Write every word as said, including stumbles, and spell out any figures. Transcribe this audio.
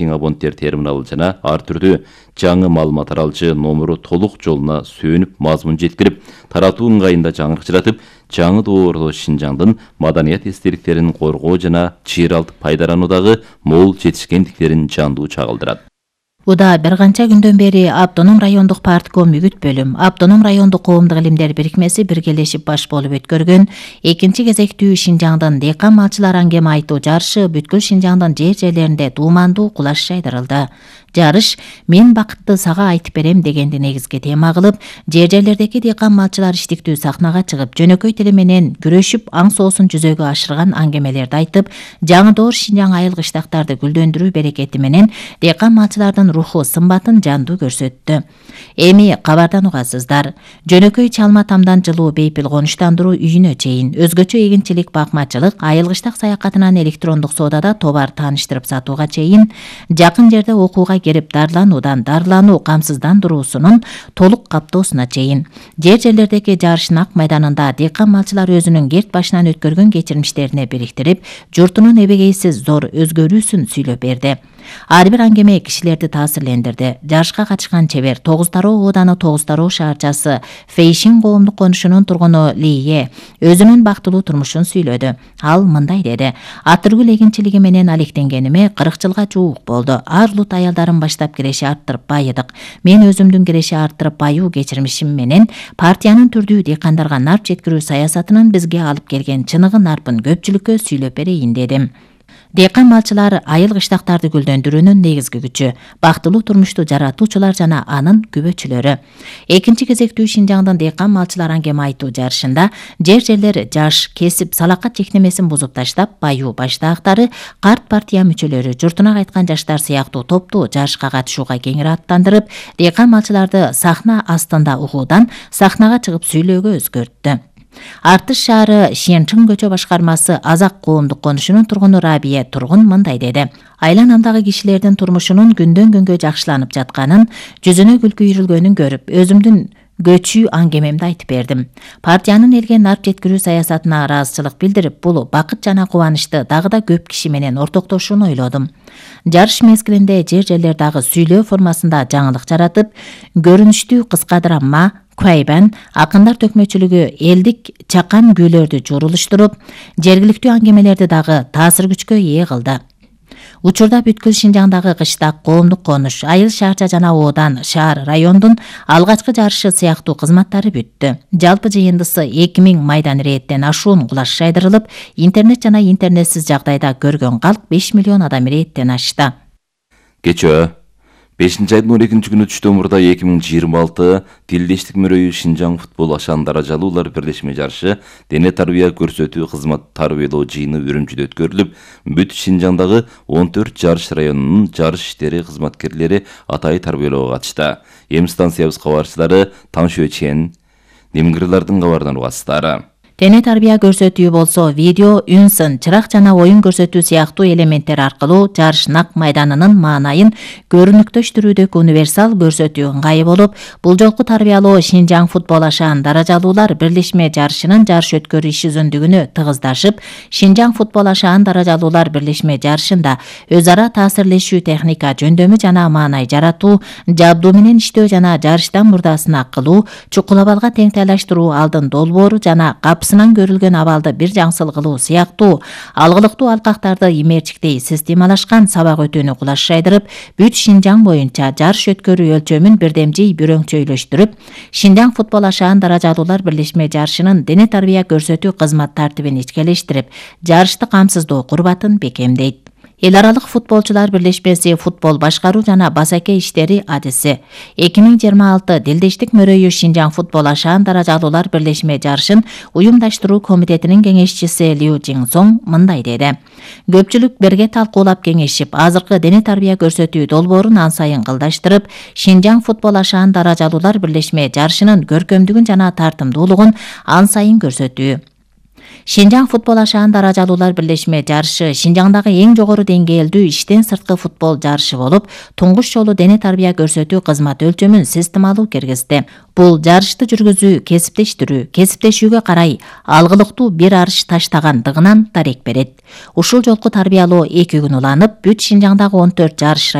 абоненттер терминалы жана ар түрдүү жаңы маалымат таралчы номеру толук жолуна сүйүнүп мазмун жеткирип, таратуу ыңгайында жаңырык жаратып, жаңы доордо Шинжаңдын маданият эстеликтерин коргоо жана чыйралтып пайдалануудагы мол жетишкендиктерин жандуу чагылдырат. Уда бир канча күндөн бери Автоном райондук партком үгүт бөлүм, Автоном райондук коомдук илимдер бирикмеси биргелешип баш болуп өткөргөн экинчи кезектүү Шинжаңдын дыйкан малчылар аңгеме айтуу жарышы бүткүл Шинжаңдын жер жерлеринде дуумандуу кулаш жайдырылды. Жарыш «Мен бакытты сага айтып берем» дегенди негизги тема кылып, жер жерлердеги дыйкан малчылар иштиктүү сахнага чыгып, жөнөкөй тили менен күрөшүп, аң соосун жүзөгө ашырган аңгемелерди айтып, жаңы доор Шинжаң айыл кыштактарды гүлдөндүрүү берекети менен дыйкан малчылардын руху сымбатын жандуу көрсөттү. Эми кабардан угасыздар. Жөнөкөй чалма тамдан жылуу бейпил конуштандыруу үйүнө чейин өзгөчө эгинчилик, бакмачылык, айыл кыштак саякатынан электрондук соодада товар тааныштырып сатууга чейин, жакын жерде окууга келип дарлануудан дарлануу камсыздандыруусунун толук каптоосуна чейин. Жер жерлердеги жарыш Нак майданында дыйкан малчылар өзүнүн керт башынан өткөргөн кечирмиштерине бириктирип, журтунун эбегейсиз зор өзгөрүүсүн сүйлөп берди. Ар бир аңгеме кишилерди таасирлендирди. Жарышка катышкан чебер Тогуз Тароо ооданы Тогуз Тароо шаарчасы Фейшин коомдук конушунун тургуну Лие өзүнүн бактылуу турмушун сүйлөдү. Ал мындай деди: Атыргүл эгинчилиги менен алектенгениме кырк жылга жуук болду. Ар улут аялдарын баштап киреши арттырып байыдык. Мен өзүмдүн киреши арттырып байуу кечирмишим менен партиянын түрдүү дыйкандарга нарп жеткирүү саясатынын бизге алып келген чыныгы нарпын көпчүлүккө сүйлөп берейин дедим. Дыйкан малчылар айыл кыштактарды гүлдөндүрүүнүн негизги күчү, бактылуу турмушту жаратуучулар жана анын күбөчүлөрү. Экинчи кезектүү Шинжаңдын дыйкан малчылар аңгеме айтуу жарышында жер жерлер жаш, кесип, салакат чектемесин бузуп таштап, байуу баштаактары, карт партия мүчөлөрү, журтуна кайткан жаштар сыяктуу топту жарышка катышууга кеңири аттандырып, дыйкан малчыларды сахна астында угуудан сахнага чыгып сүйлөөгө өзгөрттү. Артыш шаары Шенчиң көчө башкармасы Азак коомдук конушунун тургуну Рабия Тургун мындай деди: Айланамдагы кишилердин турмушунун күндөн күнгө жакшыланып жатканын, жүзүнө күлкү үйрүлгөнүн көрүп, өзүмдүн көчүү аңгемемди айтып бердим. Партиянын элге нарп жеткирүү саясатына ыраазычылык билдирип, бул бакыт жана кубанычты дагы да көп киши менен ортоктошууну ойлодум. Жарыш мезгилинде жер жерлер дагы сүйлөө формасында жаңылык жаратып, көрүнүштүү кыска драма, Куайбан, акындар төкмөчүлүгү, элдик чакан күүлөрдү журулуштуруп, жергиликтүү аңгемелерди дагы таасир күчкө ээ кылды. Учурда бүткүл Шинжаңдагы кыштак, коомдук конуш, айыл шаарча жана оодан, шаар, райондун алгачкы жарышы сыяктуу кызматтары бүттү. Жалпы жыйындысы эки миң майдан ирээттен ашуун кулаш жайдырылып, интернет жана интернетсиз жагдайда көргөн калк беш миллион адам ирээттен ашты. Кечөө бешинчи айдын он экинчи күнү түштөн мурда эки миң жыйырма алты Тилдештик мөрөйү Шинжаң футбол ашан даражалуулар бирлешме жарышы дене тарбия көрсөтүү кызмат тарбиялоо жыйыны Үрүмчүдө өткөрүлүп, бүт Шинжаңдагы он төрт жарыш районунун жарыш иштери кызматкерлери атайы тарбиялоого катышты. Эми станциябыз кабарчылары Таңшө Чен, Немгирлардын кабарынан угасыздар. Дене тарбия көрсөтүү болсо видео, үн сын, чырак жана оюн көрсөтүү сыяктуу элементтер аркылуу жарыш Нак майданынын маанайын көрүнүктөштүрүүдөгү универсал көрсөтүү ыңгайы болуп, бул жолку тарбиялоо Шинжаң футбол ашаан даражалуулар бирлешме жарышынын жарыш өткөрүү иш үзүндүгүнө тыгыздашып, Шинжаң футбол ашаан даражалуулар бирлешме жарышында өз ара таасирлешүү, техника жөндөмү жана маанай жаратуу, жабдуу менен иштөө жана жарыштан мурдасына кылуу, чукул абалга теңтайлаштыруу, алдын долбоору жана капс сынан көрүлгөн абалды бир жаңсыл кылуу сыяктуу алгылыктуу алкактарды имерчиктей системалашкан сабак өтүүнү кулаш жайдырып, бүт Шинжаң боюнча жарыш өткөрүү өлчөмүн бирдемжий бүрөңчөйлөштүрүп, Шинжаң футбол ашаан даражалуулар бирлешме жарышынын дене тарбия көрсөтүү кызмат тартибин ичкелештирип, жарышты камсыздоо курбатын бекемдейт. Эл аралык футболчулар бирлешмеси футбол башкаруу жана басаке иштери адиси эки миң жыйырма алты Дилдештик мөрөйү Шинжаң футбол ашаан даражалуулар бирлешме жарышын уюмдаштыруу комитетинин кеңешчиси Лю Жиңсоң мындай деди: Көпчүлүк бирге талкуулап кеңешип, азыркы дене тарбия көрсөтүү долбоорун ан сайын кылдаштырып, Шинжаң футбол ашаан даражалуулар бирлешме жарышынын көркөмдүгүн жана тартымдуулугун ан сайын көрсөтүү. Шинжаң футбол ашаан даражалуулар бирлешме жарышы Шинжаңдагы эң жогору деңгээлдүү иштен сырткы футбол жарышы болуп, туңгуч жолу дене тарбия көрсөтүү кызматы өлчөмүн системалуу киргизди. Бул жарышты жүргүзүү кесиптештирүү, кесиптешүүгө карай алгылыктуу бир арыш таштагандыгынан дарек берет. Ушул жолку тарбиялоо эки күн уланып, бүт Шинжаңдагы он төрт жарыш